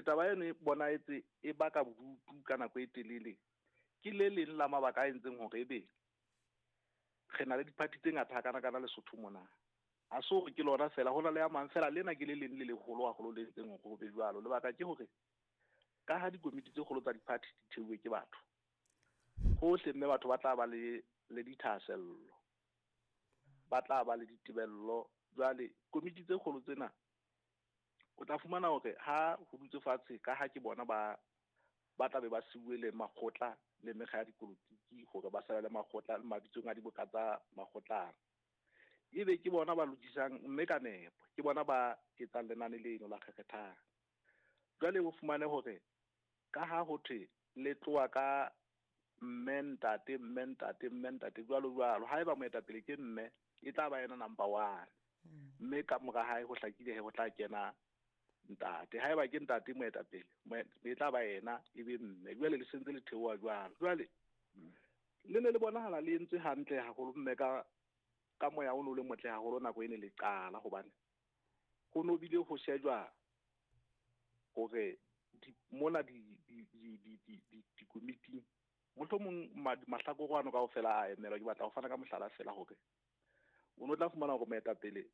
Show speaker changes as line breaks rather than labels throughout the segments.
taba eno e bonahetse e baka bodutu ka nako e telele, ke le leng la mabaka a entseng hore ebe re na le diphathi tse ngata hakana-kana Lesotho mona. Ha se hore ke lona fela, ho na le a mang fela, lena ke le leng le leholo haholo le entseng hore ho be jwalo. Lebaka ke hore ka ha dikomiti tse kgolo tsa diphathi di theuwe ke batho hohle, mme batho ba tla ba le dithahasello, ba tla ba le ditebello. Jwale komiti tse kgolo tsena o tla fumana hore ha ho dutse fatshe, ka ha ke bona ba tla be ba siuwe le makgotla le mekga ya dipolotiki hore ba sale le makgotla le mabitsong a diboka tsa makgotlana, ebe ke bona ba lokisang, mme ka nepo ke bona ba etsang lenane leno la kgekgethang. Jwale o fumane hore ka ha ho thwe le tloha ka mme ntate, mme ntate, mme ntate, jwalo jwalo, haeba moetapele ke mme, e tla ba yena number one, mme ka mora hae ho hlakile he ho tla kena ntate. Haeba ke ntate moetapele, e tla ba yena, e be mme. Jwale le sentse le theoha jwalo. Jwale le ne le bonahala le entswe hantle haholo, mme ka moya o no le motle haholo nako e ne le qala, hobane ho no bile ho shejwa hore mona dikomiting mohlomong mahlakore ano kaofela a emelwa. Ke batla ho fana ka mohlala fela hore o no tla fumana hore moetapele,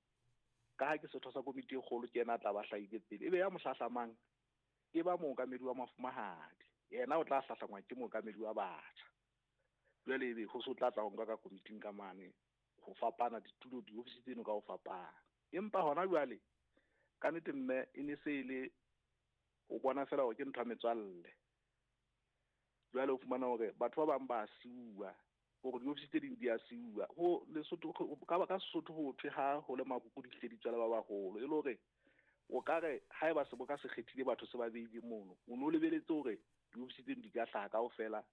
ka ha ke setho sa komiti e kgolo, ke yena a tla ba hlahile pele, ebe ya mo hlahlamang e ba mookamedi wa mafumahadi, yena o tla hlahlangwa ke mookamedi wa batjha. Jwale ebe ho se o tla tla ho nka ka komiting ka mane ho fapana ditulo, diofisi tseno ka ho fapana. Empa hona jwale ka nnete mme e ne se e le o bona fela hore ke ntho ya metswalle. Jwale o fumana hore batho ba bang ba siuwa, hore diofisi tse ding di a siuwa. Ho Lesotho, ka Sesotho ho thwe ha ho le makuku di hle di tswela ba baholo, e le hore o ka re haeba seboka se kgethile batho se ba beile mono, o no lebeletse hore diofisi tseno di ka hlaha kaofela,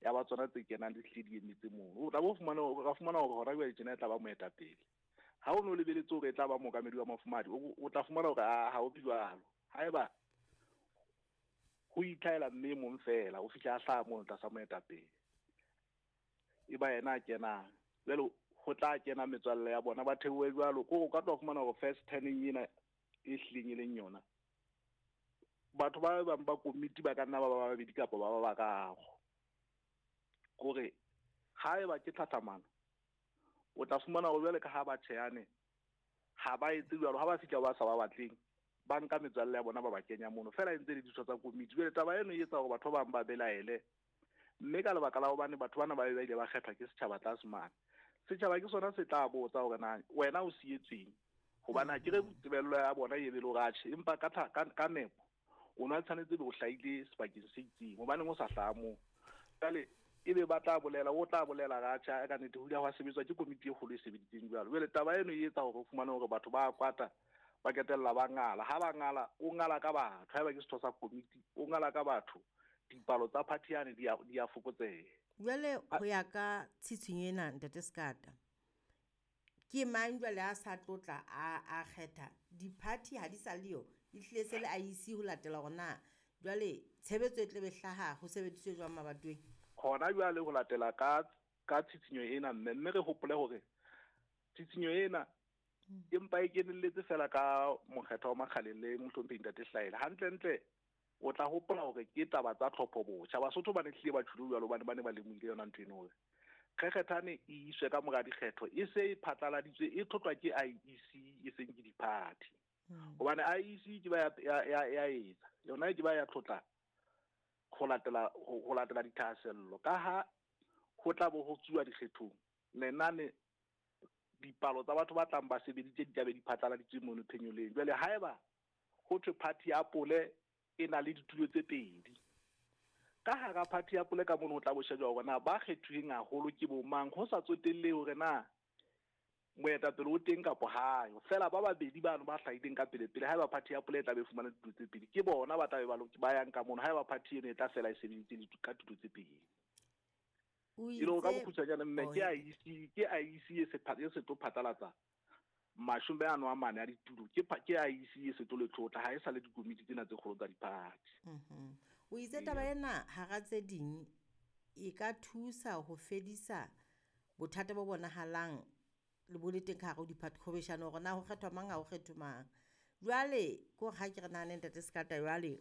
ya ba tsona tse kenang di hlile di emetse mono. O tla bo fumana, o ka fumana hore hona jwale tjena e tla ba moetapele. Ha o no lebeletse hore e tla ba mookamedi wa mafumahadi, o tla fumana hore ha ho be jwalo. Haeba ho itlhahela mme e mong fela, o fihla a hlaha mono tlasa moetapele, e ba yena a kenang. Jwale ho tla kena metswalle ya bona, ba theohe jwalo. Ko o ka tla fumana hore first turning ena e hlileng e leng yona, batho ba bang ba komiti ba ka nna ba ba babedi kapa ba ba bararo. Kore haeba ke tlhahlamano, o tla fumana hore jwale ka ha ba tjhehane, ha ba etse jwalo. Ha ba fihla ba sa ba batleng, ba nka metswalle ya bona ba ba kenya mono fela, e ntse le ditho tsa komiti. Jwale taba eno e etsa hore batho ba bang ba belaele, mme ka lebaka la hobane batho bana ba be ba ile ba kgethwa ke setjhaba tlase mane, setjhaba ke sona se tla botsa hore na wena o sietsweng, hobane ha ke re tebello ya bona e be le hore atjhe, empa ka nepo o no tshwanetse be o hlahile sebakeng se itseng, hobaneng o sa hlaha moo. Jwale ebe ba tla bolela, o tla bolela ra tjha, ka nnete ho ile hwa sebetswa ke komiti e kgolo e sebeditseng jwalo. Jwale taba eno e etsa hore o fumane hore batho ba kwata, ba ketella ba ngala. Ha ba ngala, o ngala ka batho. Haeba ke setho sa komiti, o ngala ka batho, dipalo tsa party yane di a fokotseha.
Jwale ho ya ka tshitshinyo ena, Ntate Sekata, ke mang jwale a sa tlotla a kgetha di-party ha di sa le yo, di hlile se le IEC ho latela hore na jwale tshebetso e tle be hlaha ho sebediswe jwang mabatoweng?
Hona jwale ho latela ka tshitshinyo ena, mme re hopole hore tshitshinyo ena empa e kenelletse fela ka mokgetho wa Makgaleng le mohlomphehi Ntate Hlaele. Hantlentle o tla hopola hore ke taba tsa tlhopho botjha. Basotho ba ne hlile ba tjholo jwalo, hobane ba ne ba lemohile yona ntho eno hore kgekgethane e iswe ka mora dikgetho, e se e phatlaladitswe, e tlhotlwa ke IEC, e seng ke di-party. Hobane IEC ke ba ya etsa yona, ke ba ya tlotla ho latela dithahasello, ka ha ho tla bo ho tsuwa dikgethong lenane dipalo tsa batho ba tlang ba sebeditse di tlabe di phatlaladitswe mono phenyoleng. Jwale haeba ho thwe party ya Pole e na le ditulo tse pedi, ka hara party ya Pole ka mono ho tla bo shejwa hore na ba kgethuweng haholo ke bo mang, ho sa tsotellehe hore na moetapele o teng kapo hayo. Fela ba babedi bano ba hlahileng ka pele pele, haeba party ya Pole e tla be fumana ditulo tse pedi, ke bona ba tla be ba yang ka mono. Haeba party eno e tla fela e sebeditse ka tulo tse pedi.
O
E le hore ka
itse
bokgutshwanyane mme,
Oh,
ke
he.
IEC, ke IEC e se tlo phatlalatsa 44 a ditulo, ke IEC e se tlo le tlotla, ha e sa le dikomiti tsena tse kgolo tsa di-party.
O itse taba ena hara tse ding e ka thusa ho fedisa bothata bo bonahalang le bo le teng ka hare ho di-party, qhwebeshano hore na ho kgethwa mang, ha ho kgethwe mang. Jwale ke hore ha ke re nahane Ntate Sekata, jwale